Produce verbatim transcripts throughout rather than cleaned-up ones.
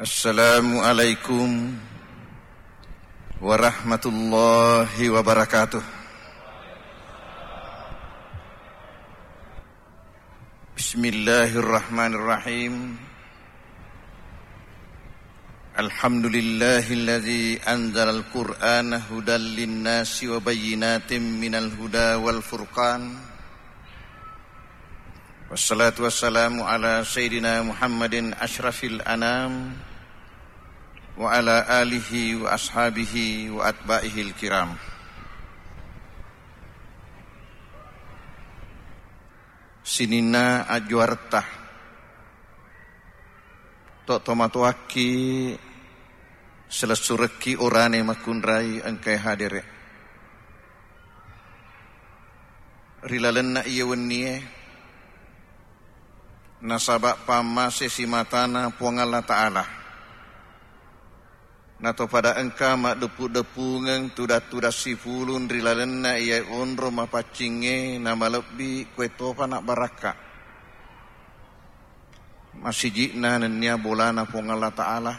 Assalamualaikum warahmatullahi wabarakatuh. Bismillahirrahmanirrahim. Alhamdulillahilladzi anzalal Qur'ana hudan linnasi wa bayyinatin minal huda wal furqan. Wassalatu wassalamu ala sayyidina Muhammadin asyrafil anam wa ala alihi wa ashabihi wa atba'ihil kiram. Sininna ajjuaretta, to tomatoakki, selessurekki orane makkunrai engkae hadere ri lalenna iye wennie, nasaba pammase simatana Puang Allah Ta'ala. Nato pada engka maddeppu-deppungeng tudang-tudang sipulung ri lalenna iyae onro mapaccingnge namalebbi, koe topa nabbarakka. Masiji'na nennia bolana Puang Allah Ta'ala.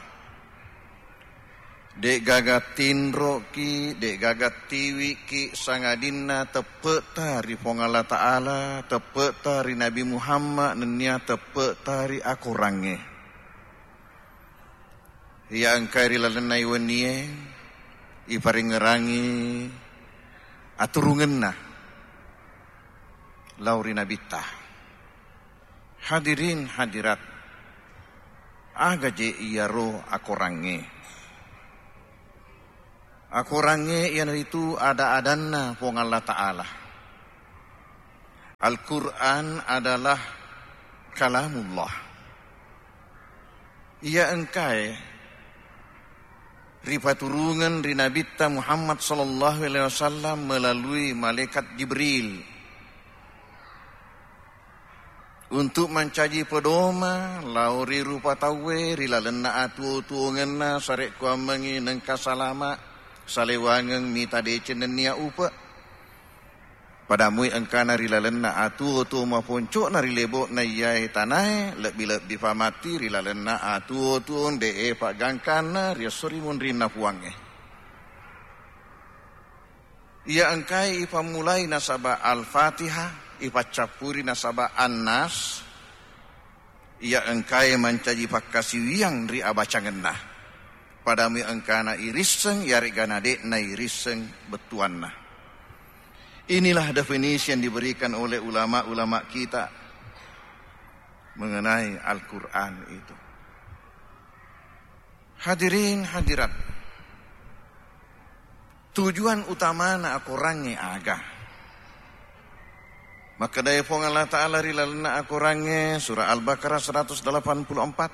De'gaga tinroki, de'gaga tiwiki, sangadinna teppe'ta ri Puang Allah Ta'ala, teppe'ta ri Nabi Muhammad, nennia teppe'ta ri akorangnge. Iya engkae ri lalenna iwennie iparengngerangi aturungenna lao ri Nabitta. Hadirin hadirat, aga je iyaro akorangnge? Akorangnge iyanaritu ada-adanna Puang Allah Ta'ala. Al-Quran adalah kalamullah. Iya engkae ripaturungeng ri Nabitta Muhammad sallallahu alaihi wasallam melalui malaikat Jibril untuk mancaji pedoma lao ri rupa tauwe ri lalenna atuo-tuongenna, sarekkuammengngi nengka salama, salewangeng mita deceng nennia upe. Pada mui engkana ri lalenna atuo-tuo maponco'na ri lebo'na iyae tanae, lebbi-lebbi famatti ri lalenna atuo-tuo de'e paggangkanna ri esso ri munrinna Puangnge. Iya engkae ipammulai nasaba Al-Fatihah, ipaccappuri nasaba An-Nas, iya engkae mancaji pakkasiwiang ri abacangenna. Padami engkana irisseng, iyare'ga nade'na irisseng bettuanna. Inilah definisi yang diberikan oleh ulama-ulama kita mengenai Al-Quran itu. Hadirin hadirat, tujuan utamana akorangnge aga? Makkedai Puang Allah Ta'ala ri lalenna akorangnge, surah Al-Baqarah seratus delapan puluh empat,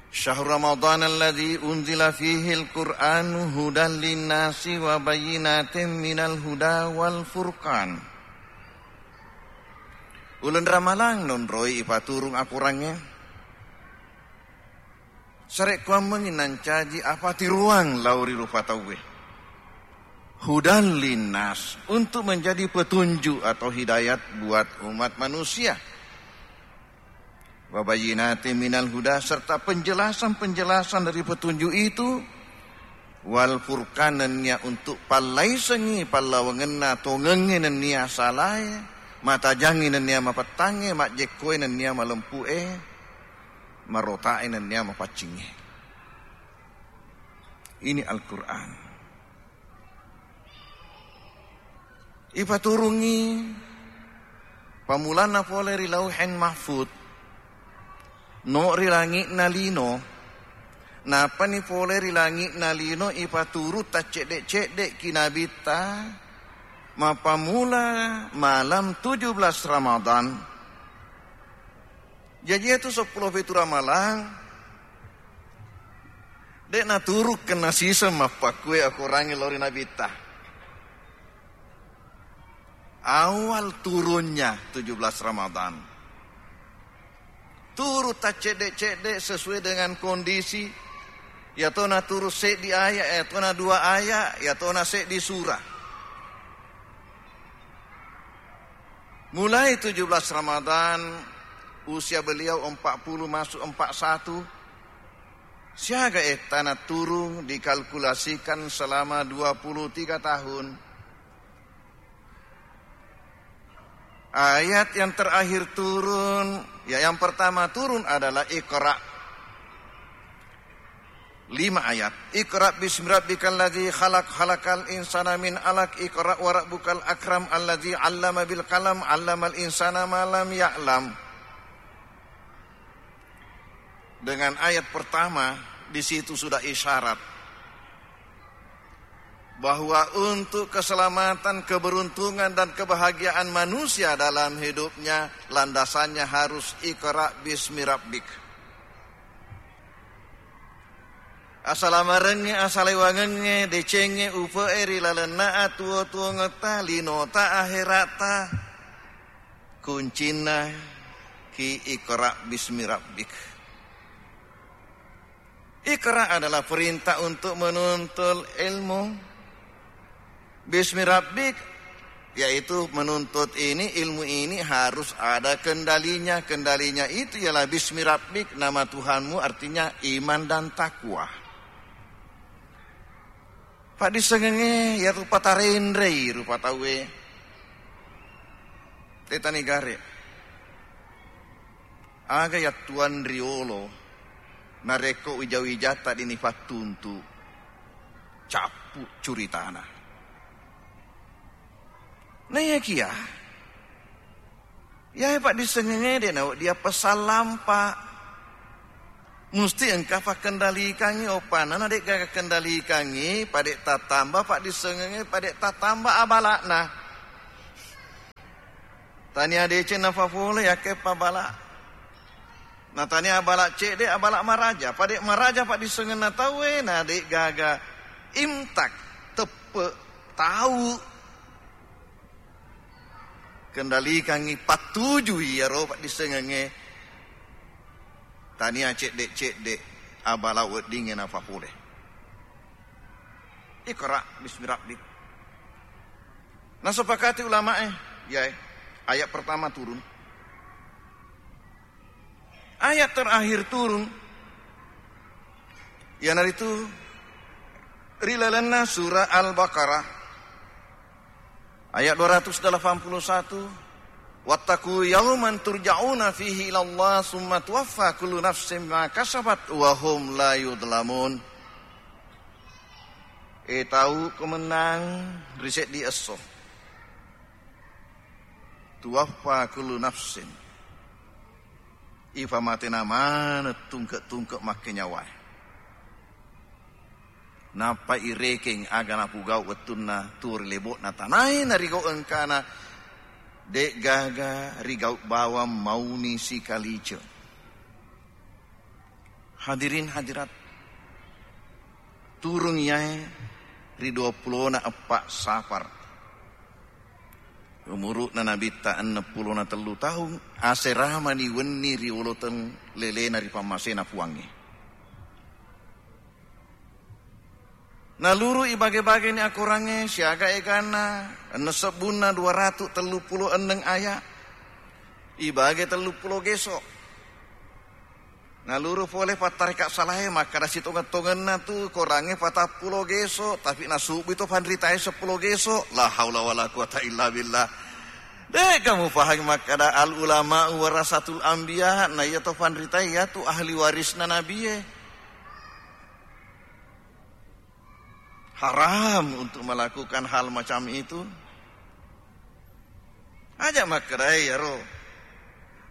"Syahr Ramadan alladzi unzila fihil Qur'anu hudan linnasi wa bayyinatin minal huda wal furqan." Uleng Ramalang nonroi ipaturung akorangnge. Sarekkuammengngi nancaji apatiruang lao ri rupa tauwe. Hudan linnas, untuk menjadi petunjuk atau hidayat buat umat manusia. Wa bayyinatin minal huda, serta penjelasan-penjelasan dari petunjuk itu, wal furqan, nennia untuk pallaisengngi pallawangenna tongengnge nennia salae, matajangngi nennia mapettangnge, majjekkoe nennia malempu'e, marotae nennia mapaccingnge. Ini Al-Quran. Ipaturungngi pammulanna pole ri Lauhen Mahfud, no ri langi'na lino, nappani pole ri langi'na lino ipaturung taccedde-cedde ki nabitta, mappammula malam tujuh belas Ramadan. Jaji iyatu seppulo pitu Ramalang, de' naturukkenna siseng mappakkue akorangnge lao ri nabitta. Awal turunnya tujuh belas Ramadan. Turu taccedde-cedde sesuai dengan kondisi. Iyatona turu seddi aya, iyatona dua aya, iyatona seddi sura. Mulai tujuh belas Ramadan, Usia beliau empat puluh masuk empat satu. Siaga ettana turun dikalkulasikan selama dua puluh tiga tahun. Ayat yang terakhir turun, ya, yang pertama turun adalah Iqra. Lima ayat. Iqra bismi rabbikal ladzi khalaq, khalaqal insana min alaq, iqra wa rabbukal akram, alladzi 'allama bil qalam, 'allamal insana ma lam ya'lam. Dengan ayat pertama, di situ sudah isyarat bahwa untuk keselamatan, keberuntungan, dan kebahagiaan manusia dalam hidupnya, landasannya harus Iqra bismi rabbik. Asalamarengnge, asalewangengnge, decengnge, upe'e ri lalenna atuwo-tuwongetta, linota, ahera'ta, kuncinna ki Iqra bismi rabbik. Iqra adalah perintah untuk menuntut ilmu. Bismi rabbik, yaitu menuntut ini, ilmu ini harus ada kendalinya. Kendalinya itu ialah bismi rabbik, nama Tuhanmu, artinya iman dan takwa. Paddissengengnge iyatu patarenrei rupa tauwe. Tetani gare. Aga yattuang riolo narekko wija-wijatta dini pattuntu, cappu curitana. Naiyakiya, iyae paddissengengnge de nawedding appessallampa. Musti engka pakkendalikangngi oppanna, na de'gaga kendalikangngi, pade tattamba paddissengengnge, pade tattamba abala'na. Tania deceng nafapole yakke pabala. Na tania abala cedde, abala maraja. Pade maraja paddissengenna tauwe, na de'gaga imtak, teppe, tau. Kendalikangngi, pattujui iyaro paddissengengnge. Tania cedde-cedde abala weddingnge nafapole. Iqra bismi rabbik. Nasepakati ulamae, iyae, ayat pertama turun. Ayat terakhir turun, iyanaritu ri lalenna surah Al-Baqarah, ayat dua ratus delapan puluh satu, "Wattaqu yauman turja'una fihi ilallah, summa tuwaffa kullu nafsin ma kasabat wa hum la yudlamun." E tau, ko mennang ri seddi esso. Tuwaffa kullu nafsin. Ipamatena maneng tungke-tungke makkenyawae. Nappa irekeng aga napugau wettunna tuo ri lebo'na tanae narigau engkana, de'gaga rigau bawang mauni sikalice. Hadirin hadirat, turung iyae ri dua pulona eppa Safar. Umuru'na Nabitta enneng pulona tellu taung, aseramani wenni ri oloteng lelena ri pammasena Puangnge. Naluru ibage-bageni akorangnge siaga eganna, enneng sebbunna dua ratu tellu pulo enneng aya, ibage tellu pulo geso. Naluru pole pattareka salae makkada sitongeng-tongenna tu korangnge patappulo geso, tapi nasubui to panritae seppulo geso. La haula wala quwata illa billah. De'ga mupahangi makkada al ulama warasatul anbiya, na iya to panritae iyatu ahli warisna nabie. Haram untuk melakukan hal macam itu. Aja makkedai iyaro.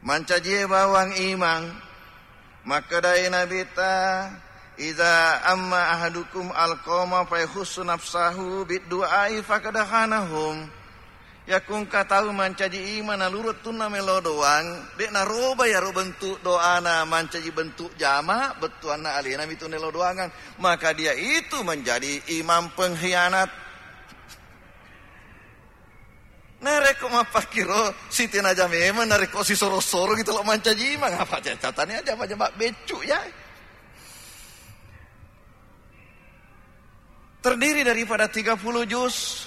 Mancajie bawang imang. Makkedai Nabitta, "Idza amma ahadukum alqauma fa yakhussu nafsahu bid du'ai faqad khanahum." Yakko engka tau mancaji imang naluru wettunna melo doang, de' naroba iyaro bentuk doana mancaji bentuk jama, bettuanna alena mitu nelo doangang, maka dia itu menjadi imam pengkhianat. Narekko mappakkiro, sitenaja memang narekko sisoro-soro gitu lo mancaji imang, apa catane aja apa jama beccu ya. Terdiri daripada tiga puluh juz,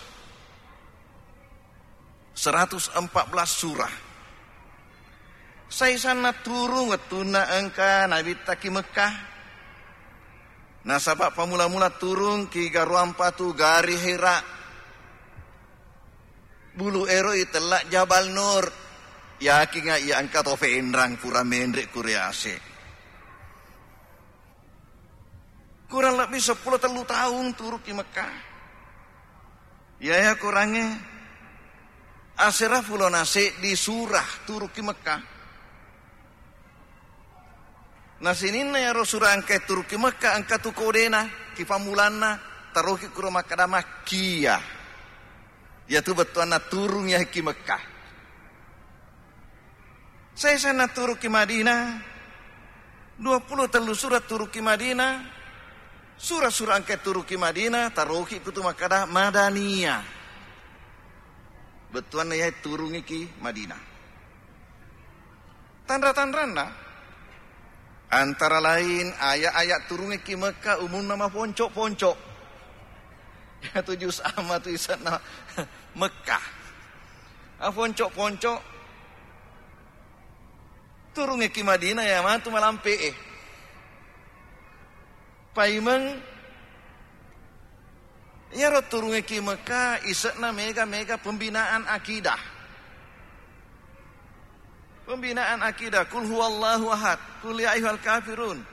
seratus empat belas surah. Saisanna turung wettunna engka Nabitta ki Mekkah. Nasaba pammula-mula turung ki Garuang Patu, Gari Hira. Bulu ero itella Jabal Nur. Yakinga iya engka to penrang pura menre ku riase. Kurang lebbi seppulo tellu taung turu ki Mekkah. Iyaya korangnge asera pulo na seddi surah turu ki Mekkah. Na sininna iyaro surah engkae turu ki Mekkah, engka tu kodena, ki pammulanna, taroki kuro makkada Makkiyah. Iyatu bettuanna turung iya ki Mekkah. Saisanna turu ki Madinah, dua pulo tellu surah turu ki Madinah, surah-surah engkae turu ki Madinah, taroki kutu makkada Madaniyah. Bettuanna iyae turungi ki Madinah. Tanra-tanranna, antara lain aya-aya turungi ki Mekkah umunna maponco-ponco. Iyatu juz amma tu isenna Mekkah. Aponco-ponco turungi ki Madinah iya matu malampe e. Paimeng iyaro turungi ki Mekkah ise'na mega-mega pembinaan akidah. Pembinaan akidah, kul huwallahu ahad, kul ya ayyuhal kafirun.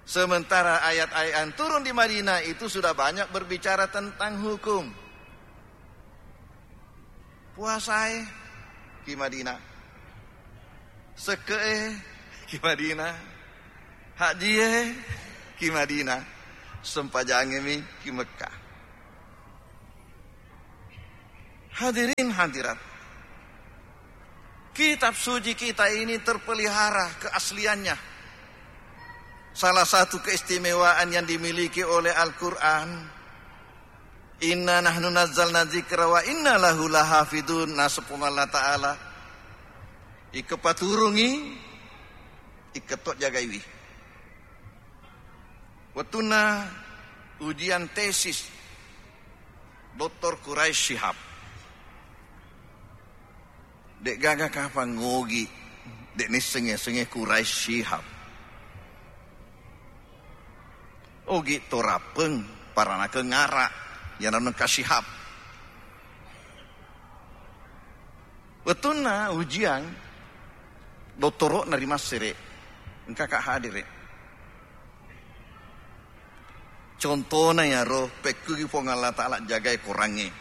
Sementara ayat-ayat yang turun di Madinah itu sudah banyak berbicara tentang hukum. Puasae ki Madinah. Sekke'e ki Madinah. Hajie ki Madinah. Sempajangemi ki Mekkah. Hadirin hadirat, kitab suci kita ini terpelihara keasliannya. Salah satu keistimewaan yang dimiliki oleh Al-Quran, "Inna nahnu nazzalna dzikra wa inna lahu lahafidun." Naseng Puang Allah Ta'ala, ikepaturungi, iketto jagaiwi. Wettunna ujian tesis Doktor Quraish Shihab, de'gaga kapang ogi, de' nissengnge-sengnge Quraish Shihab. Ogi torappeng paranakeng ara, iyanaro engka Shihab. Wettunna ujian, dottoro'na ri Massere, engkaka hadere. Contona iyaro, pekkugi Puang Allah Ta'ala jagai korangnge.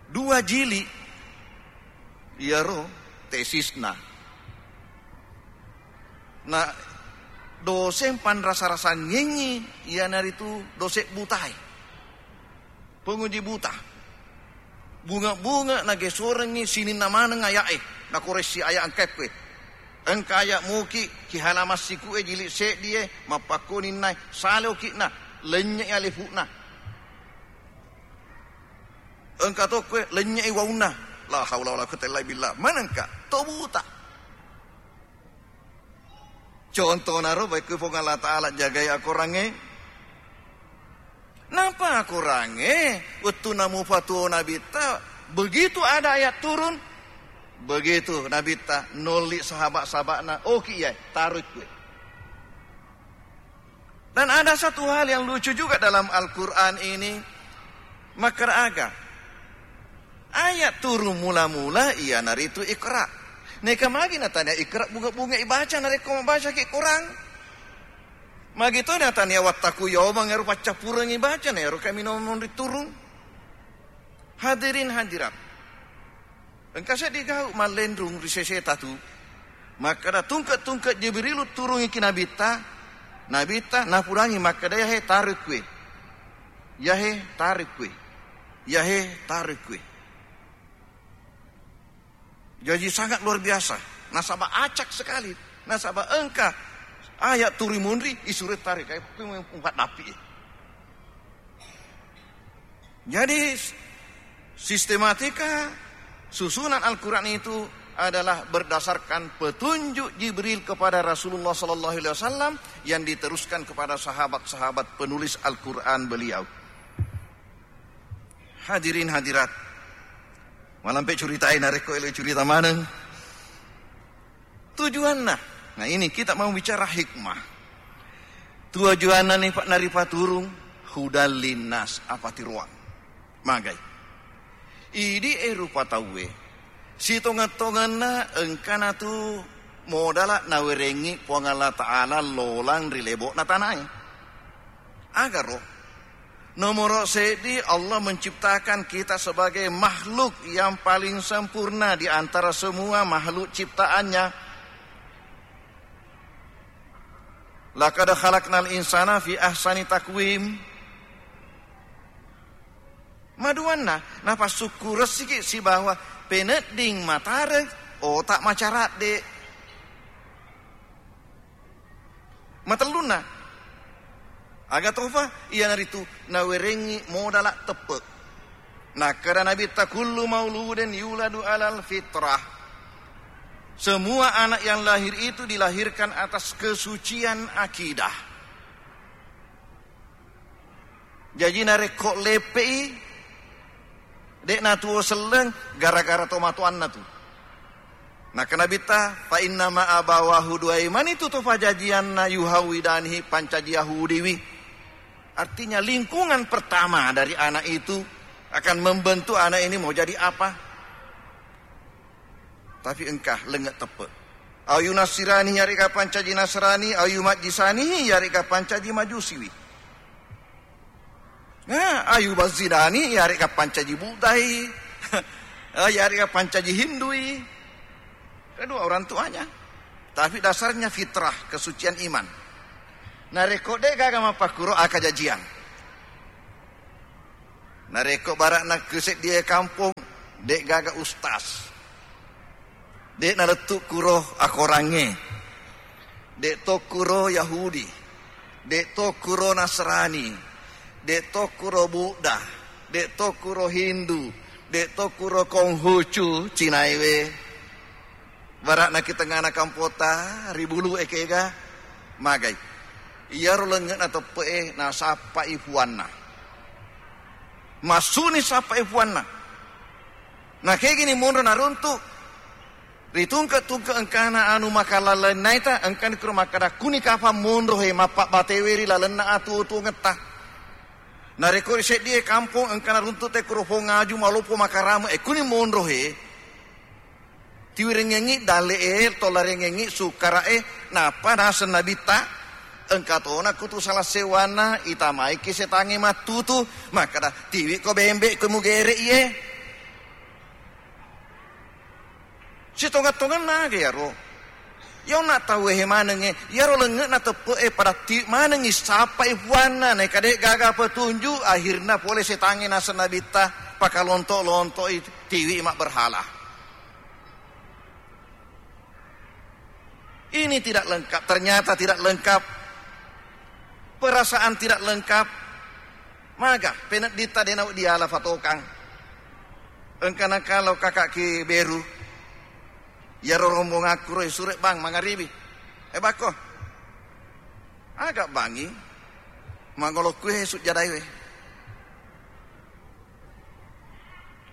Dua jili iyaro tesisna. Na doseng panrasa-rasangengngi iyanaritu dose butae. Penguji buta. Bunge-bunge nagesorengngi sininna maneng aya'e, nakoressi aya' engkae kue. Engka aya' muki ki halaman siku'e jili' seddie, mappakkoninnae, sale oki'na, lennye'i alefu'na. Engka to kue, lennye'i waunna. La haula wala quwwata illa billah. Manengka to buta. Contonaro, baikku Puang Allah Ta'ala jagai akorangnge. Napa akorangnge? Wettunna mupatuo Nabitta, begitu ada ayat turun, begitu Nabitta nolli sahabat-sahabatna, oki iyae, taroi kue. Dan ada satu hal yang lucu juga dalam Al-Quran ini. Makkeda aga? Ayat turun mula-mula iyanaritu Iqra. Neka magi natania Iqra bunga-bunga ibaca narekko mabacaki Quran? Magi to natania wattaqu yauman ero paccappurengngi baca na ero kami nomong riturung? Hadirin hadirat. Engka seddi gau' mallenrung ri seseta tu. Makkeda, "Tungke-tungke Jibrilu turungi ki Nabitta, Nabitta napudangi makkeda, 'Yahe, taroi kue. Yahe, taroi kue. Yahe, taroi kue.'" Jadi sangat luar biasa. Nasaba acak sekali. Nasaba engka ayat turi munri, isuroi taroi, kayak kue mupaddappi. Jadi, sistematika susunan Al-Quran itu adalah berdasarkan petunjuk Jibril kepada Rasulullah sallallahu alaihi wasallam yang diteruskan kepada sahabat-sahabat penulis Al-Quran beliau. Hadirin hadirat, Malampe curitai narekko elo curita maneng. Tujuanna. Nah, ini kita mau bicara hikmah. Tujuanna ni, Pak, naripaturung hudal linnas, apa tiroang. Magai. Idi e rupa tauwe. Sitongeng-tongenna engkana tu modala nawerengi Puang Allah Ta'ala lolang ri lebo'na tanae. Agaro? Nomoro seddi, Allah menciptakan kita sebagai makhluk yang paling sempurna di antara semua makhluk ciptaannya. Laqad khalaqnal insana fi ahsani taqwim. Maduanna, napassukkuressiki sibawa penedding matareng, otak macaradde. Matellunna, aga tofa? Iyanaritu nawerengngi modala teppe. Nakkeda Nabitta, "Kullu mauludin yuladu alal fitrah." Semua anak yang lahir itu dilahirkan atas kesucian akidah. Jaji narekko leppe'i, de' natuo selleng gara-gara tomatoanna tu. Nakkeda Nabitta, "Fa innama abawahu, duai mani tu to fajajianna, yuhawidanihi, pancaji Yahudiwi." Artinya lingkungan pertama dari anak itu akan membentuk anak ini mau jadi apa. Tapi engka lenge' teppe. Au yunasirani, yarega pancaji Nasrani, au yumajjisani, yarega pancaji Majusiwi. Nah, au yubazzirani, yarega pancaji Buddhai, yarega pancaji Hindui. Kedua orang tuanya. Tapi dasarnya fitrah, kesucian iman. Narekko de' gaga mappakkuro, aga jajiang. Narekko bara'na ku seddie kampong, de' gaga ustas. De' nalettu' kuro akorangnge. De' to kuro Yahudi. De' to kuro Nasrani. De' to kuro Buddha. De' to kuro Hindu. De' to kuro Konghucu Cinaiwe. Bara'na ki tengngana kampota, ri bulu e kega, magai. Iyaro lengnge'na teppe'e nasappai puanna. Massuni sappai puanna. Nakegini monro naruntu'. Ritungke-tungke engkana anu makalaleng naita, engkani kuro makkada, "Kuni kapang monro he mappabbatewe ri lalenna atuo-tuongetta." Narekko ri seddie kampong engkana runtu' te kuro pong aju maloppo makarame, e kuni monro he. Tiwirengengngi dalle'e, tollarengengngi sukkara'e, nappa naseng Nabitta, engka tona kutu sala sewwanna, itamaiki setangnge mattutu, makkada, "Tiwiko bembe' ko mugere' iye." Sitonga-tonganna aga iyaro. Iyonna tauwe he manengnge, iyaro lengnge'na teppe'e pada tiwi manengngi sappai puanna, naika de' gaga petunju, akhirna pole setangnge naseng Nabitta, pakalonto-lonto'i tiwi mabberhala. Ini tidak lengkap, ternyata tidak lengkap. Perasaan tidak lengkap. Maga, penedditta de' nawedding diala fatokang. Engkana kalo kaka'ki beru. Iyaro rombongakku ro isure' bang mangaribi. E bakko. Aga bangngi. Mangolokku e sujjadai we.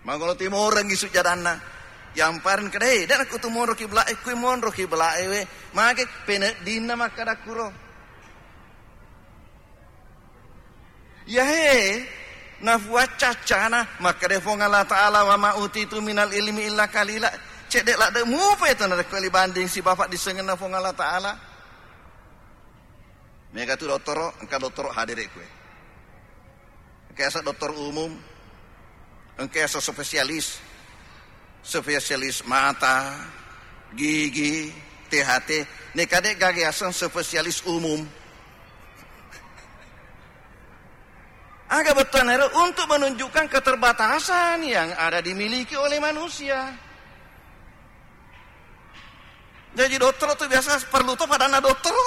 Mangolo timorengngi sujjadanna. Yampareng kedai, de' nakkutu monro kibla'e, kui monro kibla'e we. Mage peneddinna makkada kuro. Yahe, nafuaccaccana, makkada Puang Allah Ta'ala, "Wa ma utitu minal ilmi illa qalila." Cedde' ladde' mupa itu narekko libanding sibawa dissengenna Puang Allah Ta'ala. Mega tu dottoro, engka dottoro hadere' kue. Engka yaseng dokter umum, engka yaseng spesialis, spesialis mata, gigi, T H T. Neka de' gaga yaseng spesialis umum. Aga bettuanna ero? Untuk menunjukkan keterbatasan yang ada dimiliki oleh manusia. Jadi dottoro tu biasa perlu to padanna dottoro.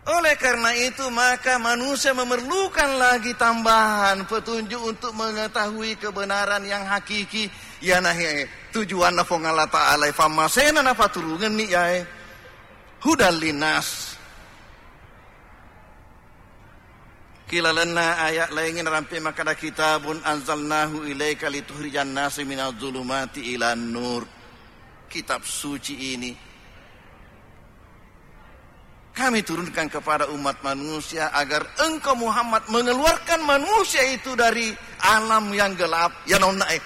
Oleh karena itu, maka manusia memerlukan lagi tambahan petunjuk untuk mengetahui kebenaran yang hakiki. Iyanahe tujuanna Puang Allah Ta'ala, fammasena napaturungenni yae. Hudal linnas. Ki lalenna ayat laingnge narampe makkeda, "Kitabun anzalnahu ilaika litukhrijan nasa minaz zulumati ilan nur." Kitab suci ini Kami turunkan kepada umat manusia agar engkau Muhammad mengeluarkan manusia itu dari alam yang gelap. Ya nonna eh.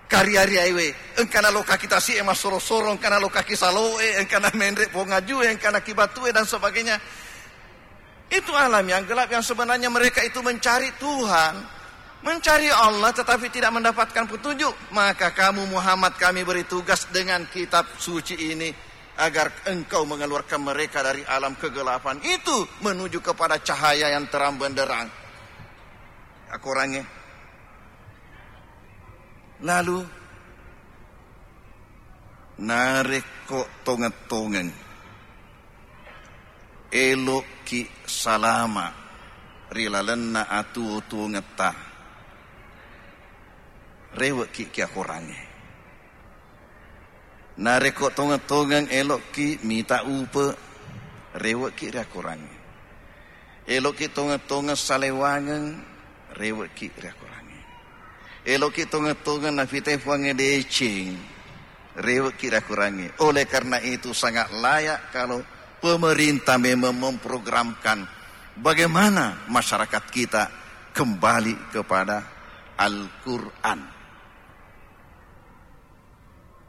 Kari-ari aiwe, engkana lokaki tasi e massoro-soro, engkana lokaki salo e, engkana menre pongaju e, engkana kibatu e dan sebagainya. Itu alam yang gelap yang sebenarnya mereka itu mencari Tuhan, mencari Allah tetapi tidak mendapatkan petunjuk. Maka kamu Muhammad kami beri tugas dengan kitab suci ini agar engkau mengeluarkan mereka dari alam kegelapan itu menuju kepada cahaya yang terang benderang. Akorangnge. Lalu narekko tongeng-tongeng elo'ki salama ri lalenna atuwo-tuwongetta, rewe'ki ki akorangnge. Narekko tongeng-tongeng elo'ki mita upe, rewe'ki ri akorangnge. Elo'ki tongeng-tongeng salewangeng, rewe'ki ri akorangnge. Elo'ki tongeng-tongeng nafitai Puangnge deceng, rewe'ki ri akorangnge. Oleh karena itu sangat layak kalau pemerintah memang memprogramkan bagaimana masyarakat kita kembali kepada Al-Quran.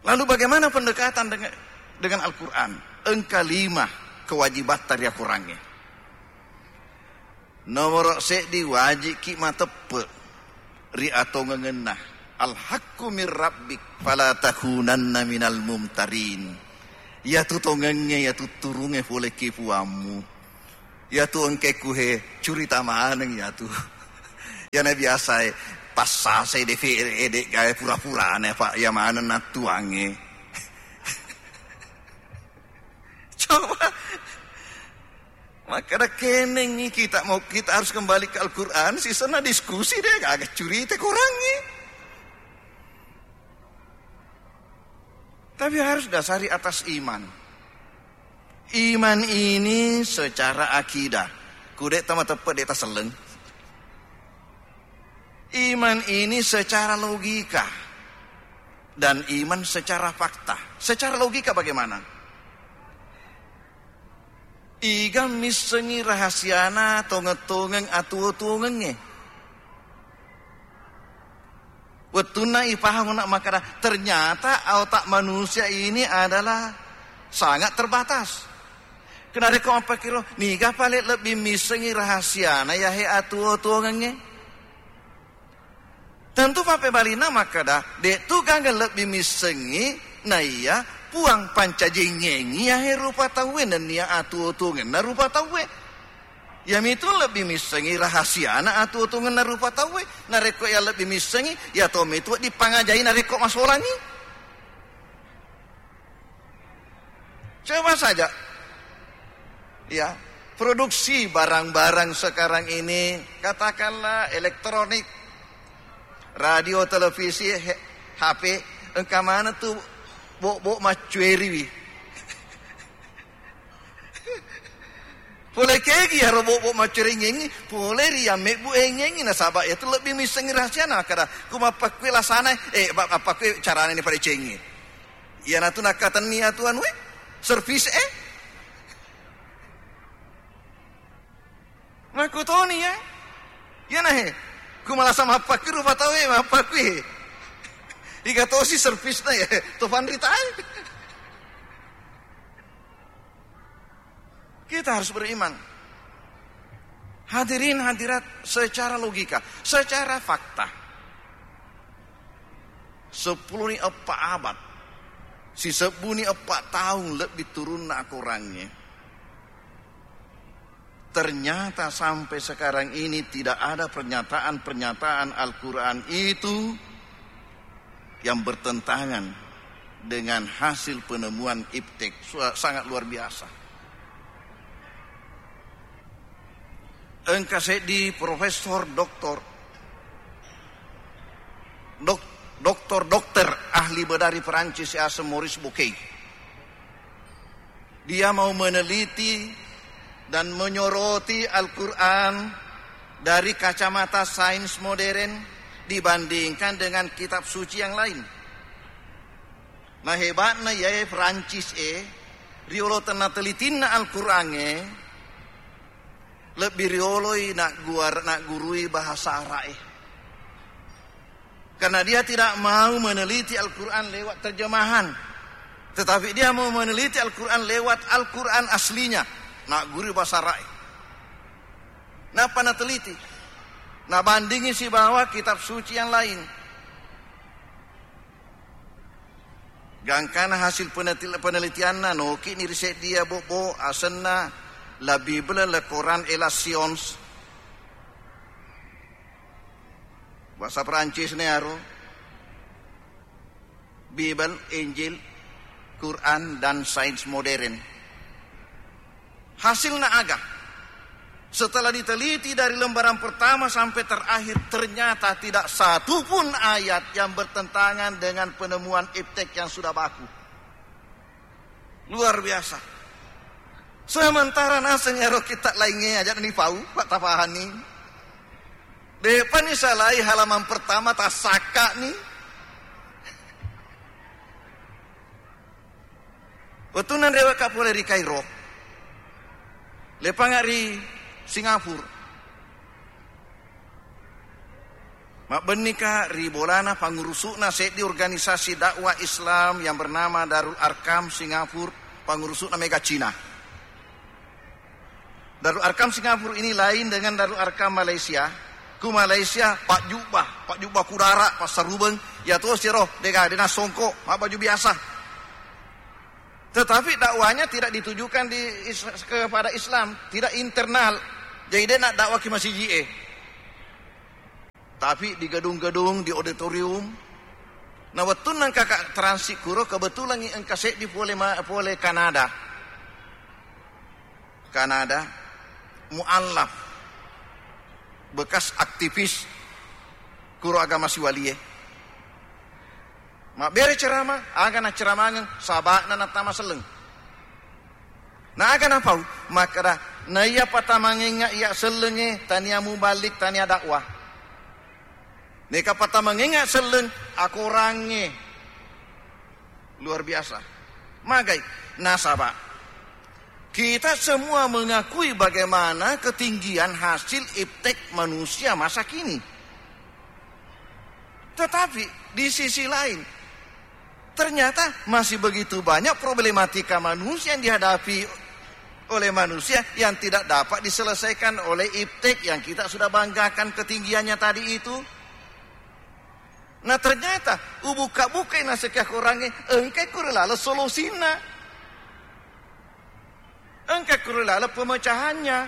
Lalu bagaimana pendekatan dengan, dengan Al-Quran? Engka lima kewajibatta ri akorangnge. Nomoro seddi, wajikki mateppe ri atongengenna. Al-haqqu min rabbik fala takunanna minal mumtarin. Iyatu tongengnge, iyatu turungnge pole ki puammu. Iyatu engkekku he, curita maneng iyatu. Iyana biasa e, passasai defe ede gae pura-purane, Pak, iya maneng nattuangnge. Coba. Makkeda kenengngi kita mau, kita harus kembali ke Al-Quran, sisenna diskusi deh, gaga curita korangnge. Tapi harus dasari atas iman. Iman ini secara akidah. Ku de' tamateppe' de' taselleng. Iman ini secara logika dan iman secara fakta. Secara logika bagaimana? Iga missengngi rahasiana tongeng-tongeng atuwo-tuwongengnge. Wettunna ipahang ona makkeda, ternyata otak manusia ini adalah sangat terbatas. Kenarekko mappakkiro, niga pale lebbi missengngi rahasiana yahe atuwo-tuwongengnge? Tentu pappebalinna makkeda, de'tu gangga lebbi missengngi naiya Puang pancajengngengngi yahe rupa tauwe nennia atuwo-tuwongenna rupa tauwe. Iyamitu lebbi missengngi rahasiana atuwo-tuwongenna rupa tauwe. Narekko iya lebbi missengngi, iya tommi tu wedding pangajai narekko masolangngi. Coba saja, ya, produksi barang-barang sekarang ini, katakanlah elektronik, radio, televisi, he-, H P, engka maneng tu bok-bok maccueriwi. Pole kegi iyaro bok-bok maccueringengngi, pole ri yang mebbu engengngi, nasaba iyatu lebbi missengngi rahasiana, makkeda, ku mappakkui lasana, eh, ba-, mappakkui carana ni padecengi. Iyanatu nakkatenni atu anu e, servis e. Makkutoni ya. Iyana he. Ku malasa mappakkui rupa tau e, mappakkui he. Iga tosi servisna ya. To panrita e. Kita harus beriman. Hadirin hadirat, secara logika, secara fakta, seppulo ni eppa abad, sisebbu ni eppa taung lebbi turunna akorangnge. Ternyata sampai sekarang ini tidak ada pernyataan-pernyataan Al-Quran itu yang bertentangan dengan hasil penemuan iptek. Su-, sangat luar biasa. Engka seddi profesor doktor, dok-, doktor-dokter ahli bedari Perancis yaseng Maurice Bucaille. Dia mau meneliti dan menyoroti Al-Quran dari kacamata sains modern dibandingkan dengan kitab suci yang lain. Nah, hebatna iyae Prancis e, riolo tenna telitinna Al-Quran e, lebbi rioloi nagguar-, naggurui bahasa Arab e. Karena dia tidak mau meneliti Al-Quran lewat terjemahan, tetapi dia mau meneliti Al-Quran lewat Al-Quran aslinya. Naggurui bahasa Arab e. Napa nateliti? Nabandingi sibawa kitab suci yang lain. Gangkana hasil penetil-, penelitianna, noki'ni ri seddi iya bobbo, asenna La Bible, Le Coran et la Science. Bahasa Prancis ne aro. Bible, Injil, Quran, dan sains modern. Hasilna aga? Setelah diteliti dari lembaran pertama sampai terakhir, ternyata tidak satu pun ayat yang bertentangan dengan penemuan iptek yang sudah baku. Luar biasa. Sementara naseng ero kitab lainnya aja ni pau, Pak Tafahani. De'pa ni salai halaman pertama, tassakka ni. Wettunna rewekka pole ri Kairo, lepanga ri Singapura. Mabbennika ri bolana pangurusu'na seddi organisasi dakwah Islam yang bernama Darul Arkam Singapura, pangurusu'na mega Cina. Darul Arkam Singapura ini lain dengan Darul Arkam Malaysia. Ku Malaysia, pajjubba, pajjubba kudara, passarubeng, ya to siro, dega, dena songko, mabbaju biasa. Tetapi dakwahnya tidak ditujukan di is-, kepada Islam, tidak internal. Jadi, dena dakwah ki masiji e. Tapi di gedung-gedung, di auditorium. Na wettunna engka ka transit kuro, kebetulan engka seddi pole ma-, pole Kanada. Kanada, muallaf, bekas aktivis kuro agama siwalie. Mabbere ceramah, aga nacceramangeng, saba'na nattama selleng. Na aga napau? Makkeda, naiya patamangengnga iya sellengnge, tania muballik, tania dakwah. Neka patamangengnga selleng, akorangnge. Luar biasa. Magai? Nasaba kita semua mengakui bagaimana ketinggian hasil iptek manusia masa kini. Tetapi di sisi lain, ternyata masih begitu banyak problematika manusia yang dihadapi oleh manusia yang tidak dapat diselesaikan oleh iptek yang kita sudah banggakan ketinggiannya tadi itu. Nah, ternyata ubuka-bukai naseng Korangnge, engkai kuro laleng solusinna. Engka kuri laleng pemecahannya.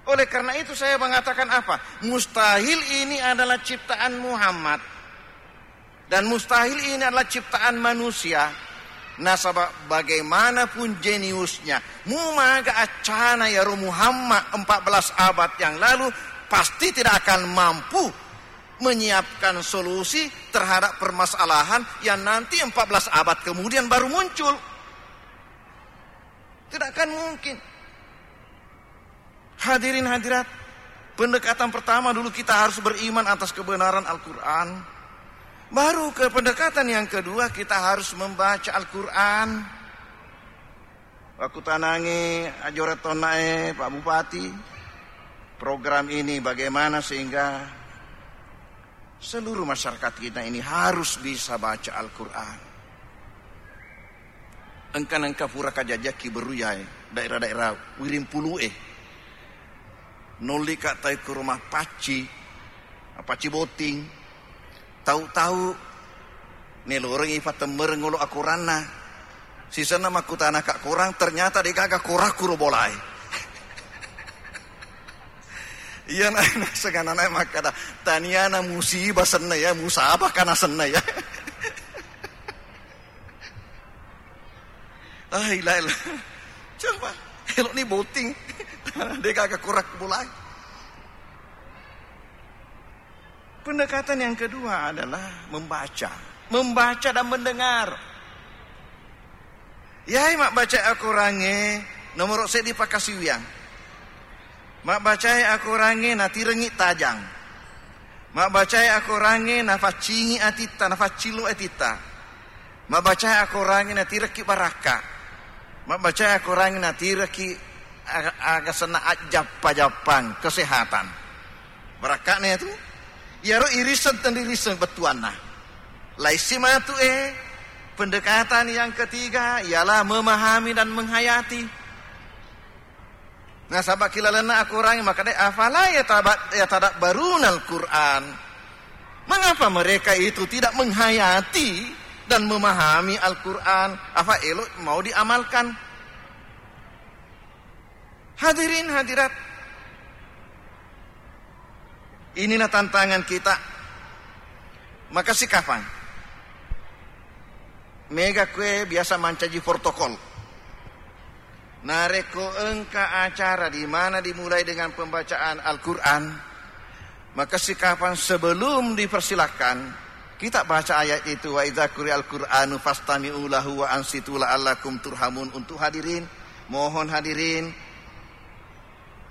Oleh karena itu saya mengatakan apa? Mustahil ini adalah ciptaan Muhammad. Dan mustahil ini adalah ciptaan manusia. Nasaba bagaimanapun jeniusnya, mumaga accana yaro Muhammad empat belas abad yang lalu, pasti tidak akan mampu menyiapkan solusi terhadap permasalahan yang nanti empat belas abad kemudian baru muncul. Tidak akan mungkin. Hadirin hadirat, pendekatan pertama dulu kita harus beriman atas kebenaran Al-Quran. Baru ke pendekatan yang kedua, kita harus membaca Al-Quran. Waktu tanangi ajora tonnae Pak Bupati, program ini bagaimana sehingga seluruh masyarakat kita ini harus bisa baca Al-Quran. Engka nengka pura kajajaki beruyae daerah-daerah wiring pulu'e. Nollika tau ke rumah pacci, pacci boting. Tau-tau nelorengi patemmereng olo akoranna. Sisenna makkutana ka korang, ternyata degaga korakku ro bolae. Iya, na-, nasengana na makkada, taniana musibah senna ya, musabah kana senna ya. Ah, ila, ila. Coba, elok ni boting. Degaga korakku bolae. Pendekatan yang kedua adalah membaca. Membaca dan mendengar. Yai mabbaca akorangnge nomoro seddi pakkasiwiang. Mabbacae akorangnge natirengngi tajang. Mabbacae akorangnge nafaccingi atitta, nafaccillo atitta. Mabbacae akorangnge natirekki barakka. Mabbacae akorangnge natirekki aga-, aga senna ajjappa-jappang kesehatan. Barakka'na tu, iyaro irisseng tenririsseng bettuanna. Laissi matu, eh, pendekatan yang ketiga ialah memahami dan menghayati. Nasaba' ki lalenna akorangnge makkeda, "Afala yataba-, yatadabbarunal Qur'an?" Mengapa mereka itu tidak menghayati dan memahami Al-Quran? Apa elo' mau diamalkan? Hadirin hadirat, inilah tantangan kita. Makasih kapang. Mega kue biasa mancaji protokol. Narekko engka acara di mana dimulai dengan pembacaan Al-Quran, maka sikapan sebelum dipersilahkan, kita baca ayat itu, "Wa idza quri'al Qur'anu fastami'u lahu wa ansitu la'allakum turhamun." Untuk hadirin, mohon hadirin,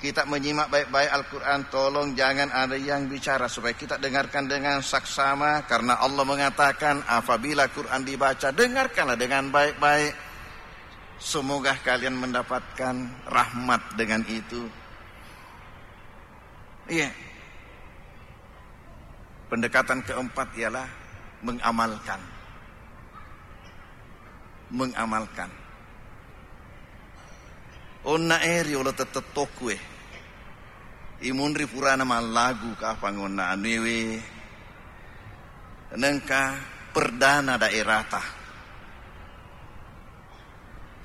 kita menyimak baik-baik Al-Quran, tolong jangan ada yang bicara, supaya kita dengarkan dengan saksama, karena Allah mengatakan, apabila Quran dibaca, dengarkanlah dengan baik-baik. Semoga kalian mendapatkan rahmat dengan itu. Iya. Pendekatan keempat ialah mengamalkan. Mengamalkan. Onna e riolo tettettoku e. Imunri purana mallagu kapang onna anuewe. Nengka perdana daerata.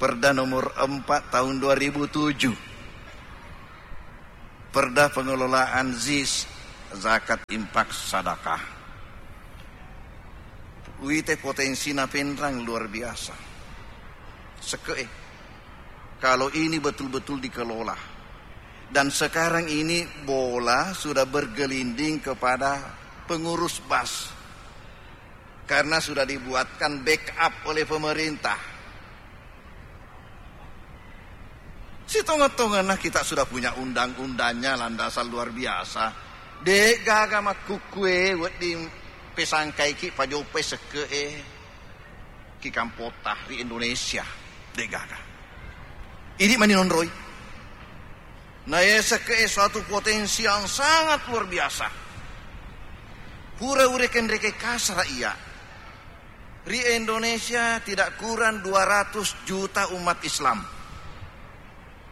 Perda nomor empat tahun dua ribu tujuh. Perda pengelolaan zis, zakat, infak, sadakah. Uite potensi napenrang luar biasa. Seke'e. Kalau ini betul-betul dikelola. Dan sekarang ini bola sudah bergelinding kepada pengurus bas. Karena sudah dibuatkan backup oleh pemerintah. Sitonga-tonganna kita sudah punya undang-undangnya, landasan luar biasa. De' gaga makkukkue wedding pesangkaiki pajoppai sekke'e ki kampotta ri Indonesia. De' gaga. Ini maninonroi. Naesekke suatu potensi yang sangat luar biasa. Pura urekeng-rekeng kasara iya. Ri Indonesia tidak kurang dua ratus juta umat Islam.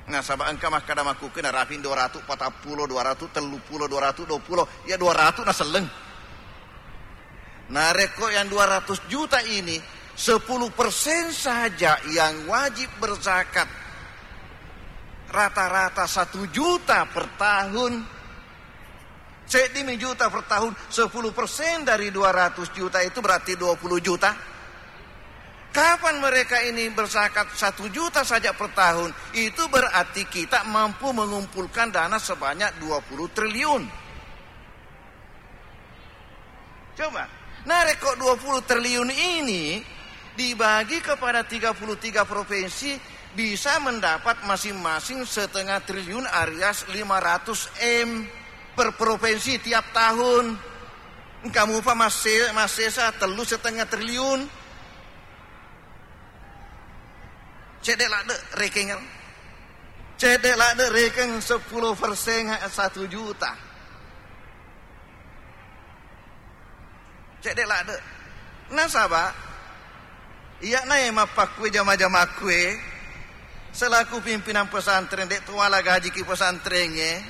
Nasaba engka makkada makkukkue naraping dua ratus patappulo, dua ratus telluppulo, dua ratus duappulo, ya dua ratus naselleng. Narekko yang dua ratus juta ini, sepuluh persen saja yang wajib berzakat, rata-rata satu juta per tahun, seddimi juta per tahun, sepuluh persen dari dua ratus juta itu berarti dua puluh juta. Kapan mereka ini berzakat satu juta saja per tahun, itu berarti kita mampu mengumpulkan dana sebanyak dua puluh triliun. Coba, narekko dua puluh triliun ini dibagi kepada tiga puluh tiga provinsi, bisa mendapat masing-masing setengah triliun alias lima ratus M per provinsi tiap tahun. Engka mupa masse-, massesa tellu setengah triliun. Cedde' ladde' rekeng. Cedde' ladde' rekeng sepuluh persen satu juta. Cedde' ladde'. Nasaba', iya'na e mappakkue jama-jamakkue, selaku pimpinan pesantren, de' tuala gajiki pesantrengnge,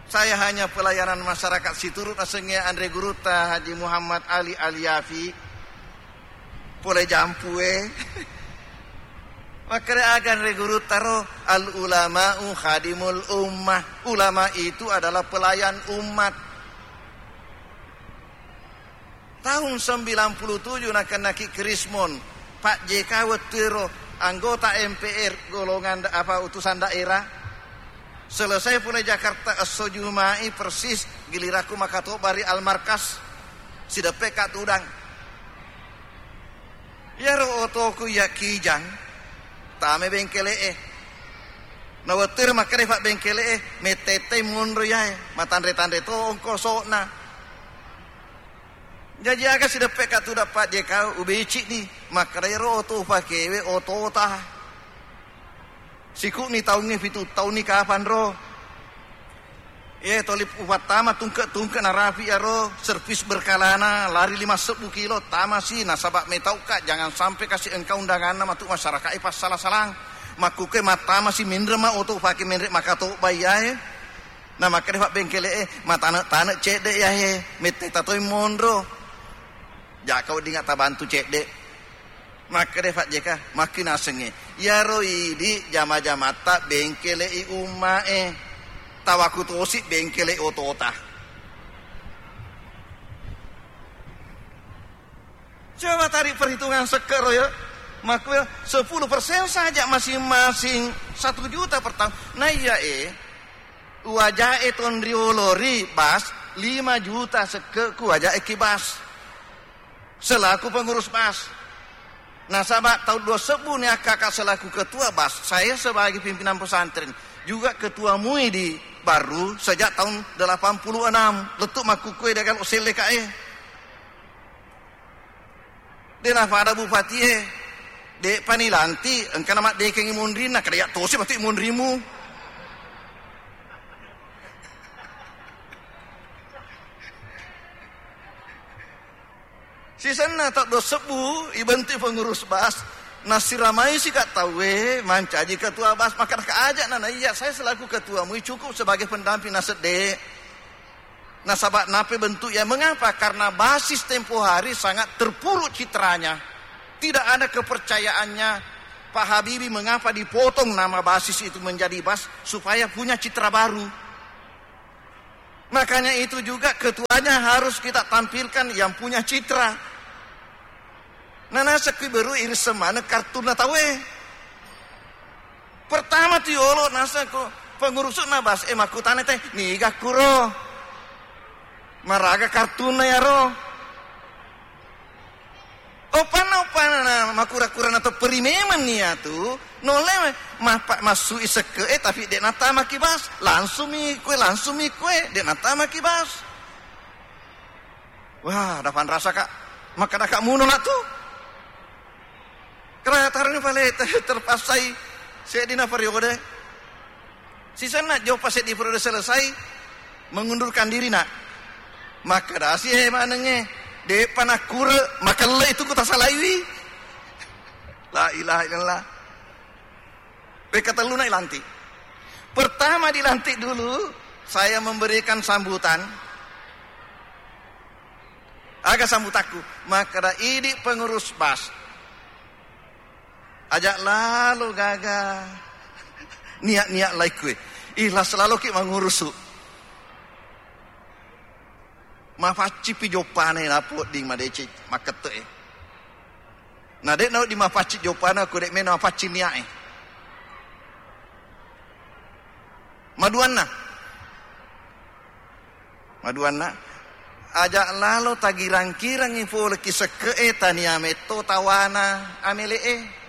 saya hanya pelayanan masyarakat situru' nasengnge anre gurutta Haji Muhammad Ali Aliafi, pole jampue. Makkeda aga anre gurutta ro, "Al ulama'u khadimul ummah." Ulama itu adalah pelayan umat. Tahun sembilan puluh tujuh nakennaki Krismon, Pak J K wettuero anggota M P R, golongan da-, apa, utusan daerah. Selesai pole Jakarta, esso Juma'i persis gilirakku makatobba ri Almarkas, sideppe ka tudang. Iyaro otoku iya Kijang, tame bengkele'e. Na wettuéro makkeda pabbéngkélé'é, "Metta-ettai monro iyaé, matanré-tanré to ongkoso'na." Jaji aga sideppe' ka tudang Pak J K, ubéci'ni, makkeda, "Iyaro oto upakéwé otota. Siku'ni taungngé pitu taunni kapanro. Iyaé toli upattama tungke-tungke narapi' iyaro servis berkalana lari lima sebbu kilo, tamasi nasaba' métau'ka, jangan sampai kasi' engka undanganna matu' masyaraka'é passala-salang. Makkukkué mattamasi ménré ma oto upaké ménré makatobba iyaé." Na makkeda pabbéngkélé'é, "Matane'-tane' cédde' iyaé, metta-etta toi monro. Ja'ka weddingnga tabantu cédde'." Makkeda Pak J K, "Makkinasengngé, iyaro idi' jama-jamatta béngkélé'i umma'é, tawaku tosi béngkélé'i otota." Coba tarik perhitungan sekke' ro ya. Makkuya sepuluh persen saja masing-masing satu juta per tahun. Na iyaé, uwaja'é tonriolo ri bas lima juta sekke' ku waja'é ki bas. Selaku pengurus bas. Nasaba' tahun dua sebbu ni akkaka selaku ketua bas, saya sebagai pimpinan pesantren, juga ketua MUI di Barru sejak tahun delapan puluh enam. Lettu' makkukkué dé' galo' selleka'é. Dé' napada bupatié, dé'pa nilanti', engka namaddékéngngi monrinna, kada iya' tosi matu' monrimu. Sisenna taung dua sebbu ibentuk pengurus bas, nassiramaisi ka' tauwé mancaji ketua bas, makkeda ka' aja' na, na iya, saya selaku ketua MUI cukup sebagai pendamping, naseddé. Nasaba' nappa bentuk ya, mengapa? Karena basis tempo hari sangat terpuruk citranya. Tidak ada kepercayaannya. Pak Habibie, mengapa dipotong nama basis itu menjadi bas? Supaya punya citra baru. Makanya itu juga ketuanya harus kita tampilkan yang punya citra. Nanaseng kui beru iris semana kartunna tauwé. Pertama tu yolo naseng ko pengurusu'na bas, eh, makkutana té, "Niga kuro? Maraga kartunna iyaro?" Oppanna, oppanna na makura-kura na tepperi memang iyatu, nolle mappa-, massui sekke'e, tapi de' nattamaki bas, langsung mi kue, langsung mi kue, de' nattamaki bas. Wah, dapanrasa ka', makkeda ka' muno na tu. Keratarni pale te-, terpassai seddina periode. Sisenna joppa seddi periode selesai, mengundurkan diri, nak. Makkedasi, eh, manengnge, de'pa nakkure, makelle itu ku tasalaiwi. La ilaha illallah. Pekatelluna ilantik. Pertama dilantik dulu, saya memberikan sambutan. Aga sambutakku? Makkeda, idi pengurus bas. Aja' lalo gaga niat-niat laikue. Ikhlas laloki mangurusu. Mapaccipi joppana napodding madeceng makkette'e. Na de' nawedding mapacci joppana ko de' mena mapacci nia'e. Maduanna. Maduanna, aja' lalo tagirang-kirangngi pole ki sekke'e tania metto tawana amele'e.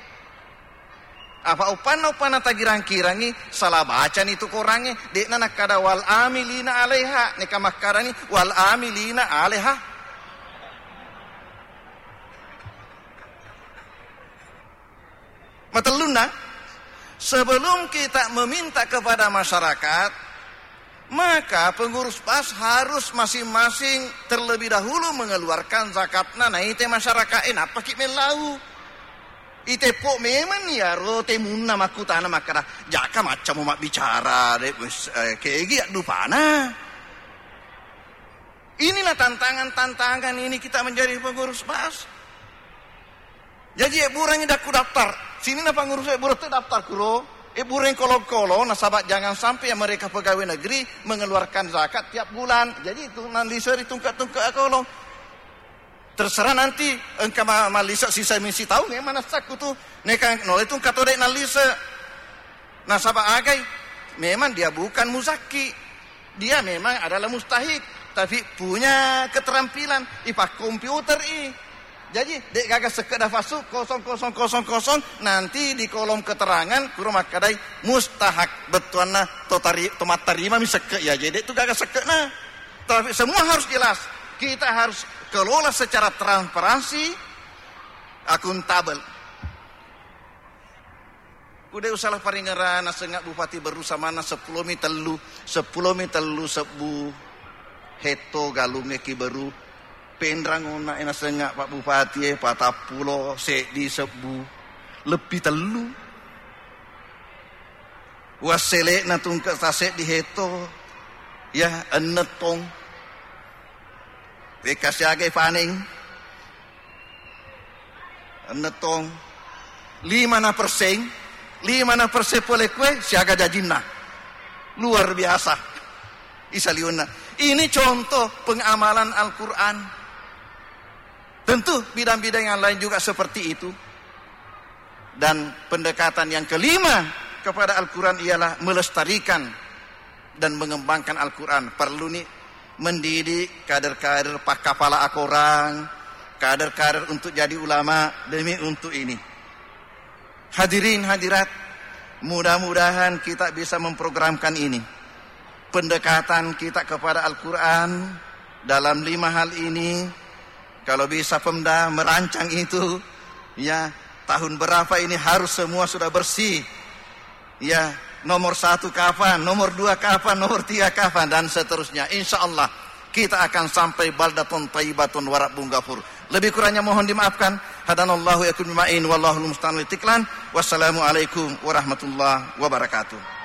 Apa uppanna-uppanna tagirang-kirangngi, sala bacani tu korangnge, de'na nakkada wal amilina alaiha, neka makkarani wal amilina alaiha. Matellunna, sebelum kita meminta kepada masyarakat, maka pengurus bas harus masing-masing terlebih dahulu mengeluarkan zakatna naite masyarakatte, nappaki mellau. Iteppo memang iyaro temunna makkutana makkada, "Jaka maccamu mabbicara, de', wes, eh, kegi addupana." Inilah tantangan-tantangan ini kita menjadi pengurus bas. Jaji, ebburengngi dakku daftar. Sininna pangurus ebbureng tu daftar kuro. Ebbureng kolong-kolong, nasaba' jangan sampai yang mereka pegawai negeri mengeluarkan zakat tiap bulan. Jadi, itu nalise ri tungke-tungke kolong. Terserah nanti engka ma-, mallise sisa misi taung, eh, manessakku tu. Neka nole tu engka tode' nallise. Nasaba' agai? Memang dia bukan muzakki. Dia memang adalah mustahik, tapi punya keterampilan, ipakkomputer i. Jaji, de' gaga sekke' dafassu, kosong, kosong, kosong, kosong, nanti di kolom keterangan, kuro makkadai mustahak, bettuanna to tari-, to mattarima mi sekke', ya, jadi de' tu gaga sekke'na. Tapi semua harus jelas. Kita harus kelola secara transparansi, akuntabel. Ku de' usala paringerang nasengnga Bupati Beru samanna seppulo mi tellu, seppulo mi tellu sebbu hetto galungnge ki Beru. Penrang onna e nasengnga Pak Bupati e patappulo seddi sebbu, lebbi tellu. Wassele'na tungke' taseddi hetto, ya, enneng tong. Wekka siaga paneng. Enneng tong. Lima na persen, lima na persen pole kue siaga jajinna. Luar biasa. Isaliunna. Ini contoh pengamalan Al-Quran. Tentu bidang-bidang yang lain juga seperti itu. Dan pendekatan yang kelima kepada Al-Quran ialah melestarikan dan mengembangkan Al-Quran. Perlu nih mendidik kader-kader pakkapala akorang, kader-kader untuk jadi ulama demi untuk ini. Hadirin hadirat, mudah-mudahan kita bisa memprogramkan ini. Pendekatan kita kepada Al-Quran dalam lima hal ini, kalau bisa Pemda merancang itu, ya, tahun berapa ini harus semua sudah bersih. Ya, nomor satu kapan, nomor dua kapan, nomor tiga kapan, dan seterusnya. Insya Allah, kita akan sampai baldatun thayyibatun wa rabbun ghafur. Lebih kurangnya mohon dimaafkan. Hadanallahu wa iyyakum ajma'in, wallahul musta'an wa ilaihi tiklan. Wassalamualaikum warahmatullahi wabarakatuh.